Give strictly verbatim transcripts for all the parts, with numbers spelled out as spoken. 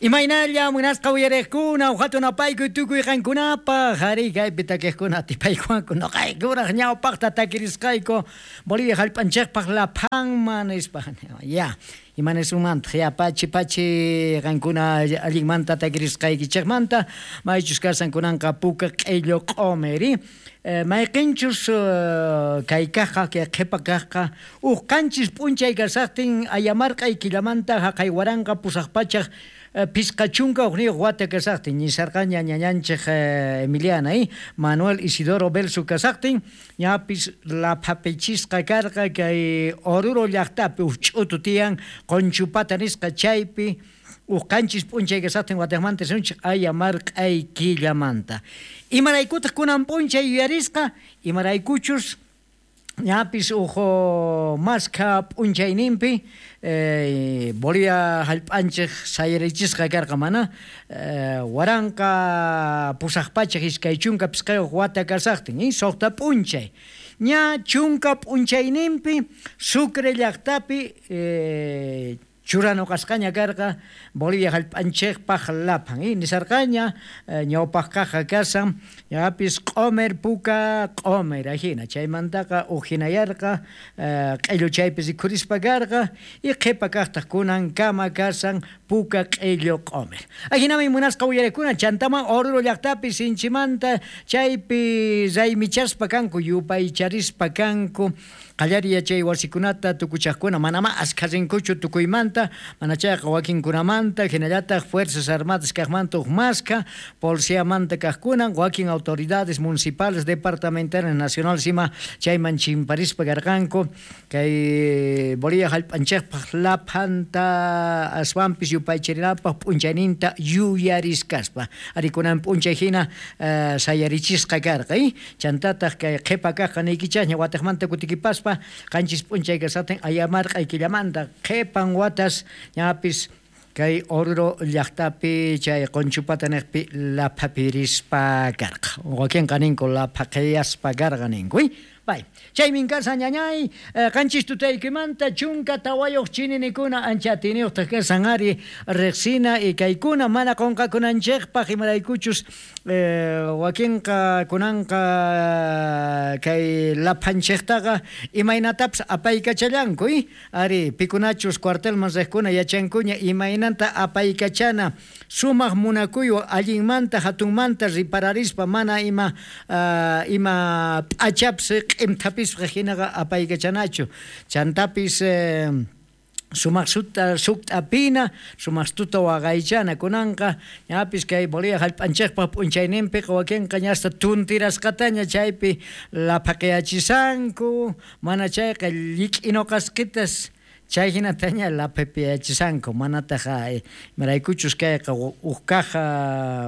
Imaynalla munasqa uyariqkuna hatun apaykuy tukuy qankunapaq ari kaypi takiqkuna atipaykuwanku noqaykuraq ñawpaqta takirisqayku Bolivia hallp'anchikpaq laphanman nispa ya imanisumantaq ya pachi pachi qankuna allinmanta takirisqaykichikmanta maychus kasan kunanqa puka q'illu q'umiri mayqinchus kay kaqqa kay qhipa kaqqa uj qanchis p'unchay kasaqtin ayamarq'ay killamanta haqay waranqa pusaq pachaq Pisqa chunka uqniyuq wata kasaqtin ñisarqaña ñañanchik Emiliana eh? Manuel Isidoro Belsu kasaqtin ñapis laphapichisqa karqa kay Oruro llaqtapi uj ch'utu tiyan Qunchupata nisqa chaypi uj qanchis p'unchay kasaqtin wataqmanta sunchik ayamarq'ay killamanta imaraykutaq kunan p'unchay yuyarisqa imaraykuchus ñapis uj maskha p'unchayninpi eh, Bolivia hallp'anchik sayarichisqa karqa mana eh, waranqa pusaq pachak iskay chunka pisqayuq wata kasaqtin eh, suqta p'unchay ña chunka p'unchayninpi Sucre llaqtapi eh, churanuqasqaña karqa Bolivia hallp'anchikpaq laphan eh, nisarqaña eh, ñawpaq kaqqa kasan ñapis q'umir puka q'umir ajina chaymantaqa ujinayarqa eh, q'illu chaypi rikhurispa karqa y qhipa kaqtaq kunankama kasan puka q'illu q'umir ajinami munasqa uyarikuna chantaman Oruro llaqtapi sinchimanta chaypi raymichaspa kanku yupaycharispa kanku qallari yachay wasikunata tukuchaqkuna manama askha rinkuchu tukuymanta mana chayqa wakinkunamanta hinallataq Fuerzas Armadas kaqmanta uj maskha policiamanta kaqkunan wakin autoridades municipales departamentales nacionales ima chayman chimparispa karqanku kay Bolivia hallp'anchikpaq laphanta aswanpis yupaycharinapaq p'unchayninta yuyariskaspa ari kunan p'unchay hina uh, sayarichisqa karqa eh? Chantataq kay qhipa kaqqa niykichasña wataqmanta kutikipaspa qanchis p'unchay kasaqtin ayamarq'ay killamanta qhipan watas ñapis kay Oruro llaqtapi chay Qunchupata niqpi laphapirispa karqa wakinqa ninku laphaqiyaspa karqa ninku Bay, chaymin kasan ñañay qanchis tutaykimanta chunka tawayuq chininikuna ancha atiniyuqtaq kasan ari riqsina y kaykuna mana qunqakunanchikpaq imaraykuchus eh, wakinqa kunanqa kay laphanchiktaqa imaynatapis apaykachallanku eh? Ari pikunachus cuartelman riqkuna yachankuña imaynanta apaykachana sumaq munakuywan allinmanta hatunmanta ripararispa mana ima uh, ima p'achapis q'imthapisqa hinaqa apaykachanachu chantapis eh, sumaq suta sukt'apina sumaq tuta waqaychana kunanqa ñapis kay Bolivia hallp'anchikpaq p'unchayninpiqa wakinqa ñasta tuntirasqataña chaypi laphaqayachisanku mana chayqa llik'inuqasqitas chay hinataña laphapiyachisanku manataq imaraykuchus kayqa uj kaja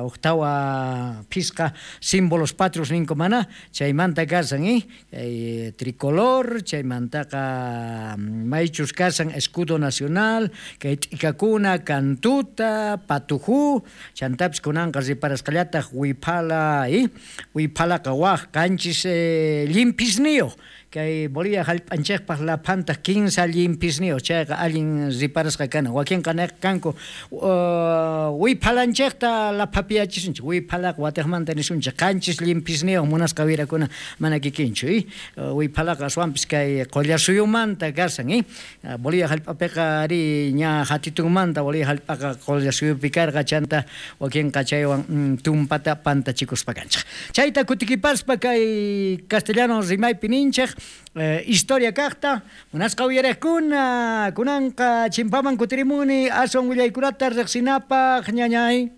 uj tawa phisqa símbolos patrios ninku mana chaymanta kasan eh? Kay tricolor chaymantaqa maychus kasan escudo nacional kay t'ikakuna kantuta patujú chantapis kunanqa riparasqallataq wiphala eh? Wiphalaqa waj qanchis eh, llimpisniyuq kay Bolivia hallp'anchikpaq laphantaq kinsa llimpisniyuq chayqa allin riparasqa kana wakinqa niq kanku uh, wiphalanchikta laphapiyachisunchik wiphalaqa watiqmanta nisunchik qanchis llimpisniyuq munasqa wirakuna mana kikinchu eh? Wiphalaqa aswanpis kay Qullasuyumanta kasan eh? Bolivia hallp'apiqa ari ña hatitunmanta Bolivia hallp'aqa Qullasuyupi karqa chanta wakinqa chaywan mm, tumpata pantachikuspa kanchik chayta kutikipaspa kay castellano rimaypi ninchik Eh, historia kaqta munasqa uyariqkuna kunanqa chimpaman kutirimuni aswan willaykunata riqsinapaq ñañay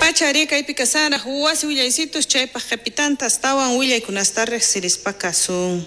Pachari kaypi kasaraq wasi willaysitus chaypaq qhipitanta astawan willaykunasta riqsirispa kasun.